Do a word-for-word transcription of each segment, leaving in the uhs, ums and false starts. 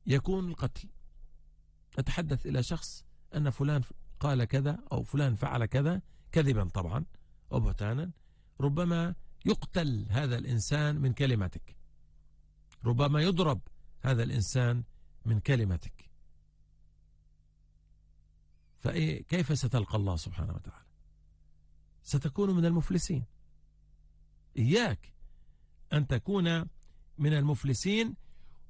يكون القتل. أتحدث إلى شخص أن فلان قال كذا أو فلان فعل كذا كذبا طبعا أو بهتانا، ربما يقتل هذا الإنسان من كلمتك، ربما يضرب هذا الإنسان من كلمتك. فكيف ستلقى الله سبحانه وتعالى؟ ستكون من المفلسين. إياك أن تكون من المفلسين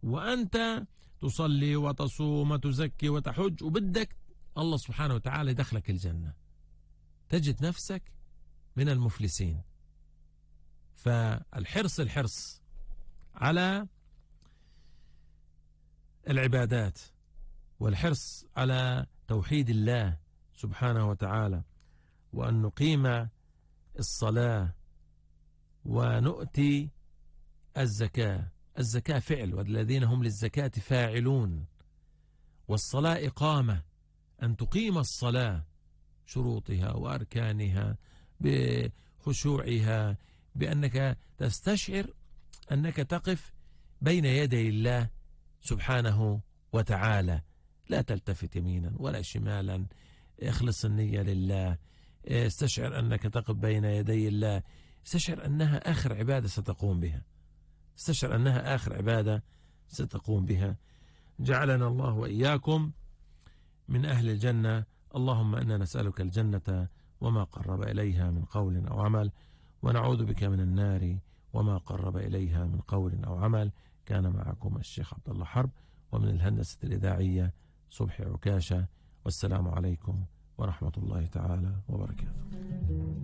وأنت تصلي وتصوم وتزكي وتحج وبدك الله سبحانه وتعالى يدخلك الجنة، تجد نفسك من المفلسين. فالحرص الحرص على العبادات والحرص على توحيد الله سبحانه وتعالى، وأن نقيم الصلاة ونؤتي الزكاة. الزكاة فعل، والذين هم للزكاة فاعلون، والصلاة إقامة، أن تقيم الصلاة شروطها وأركانها بخشوعها، بأنك تستشعر أنك تقف بين يدي الله سبحانه وتعالى، لا تلتفت يمينا ولا شمالا، اخلص النية لله، استشعر أنك تقف بين يدي الله، استشعر أنها آخر عبادة ستقوم بها، استشعر أنها آخر عبادة ستقوم بها. جعلنا الله وإياكم من أهل الجنة. اللهم إنا نسألك الجنة وما قرب إليها من قول أو عمل، ونعوذ بك من النار وما قرب إليها من قول أو عمل. كان معكم الشيخ عبد الله حرب، ومن الهندسة الإذاعية صبحي عكاشة، والسلام عليكم ورحمة الله تعالى وبركاته.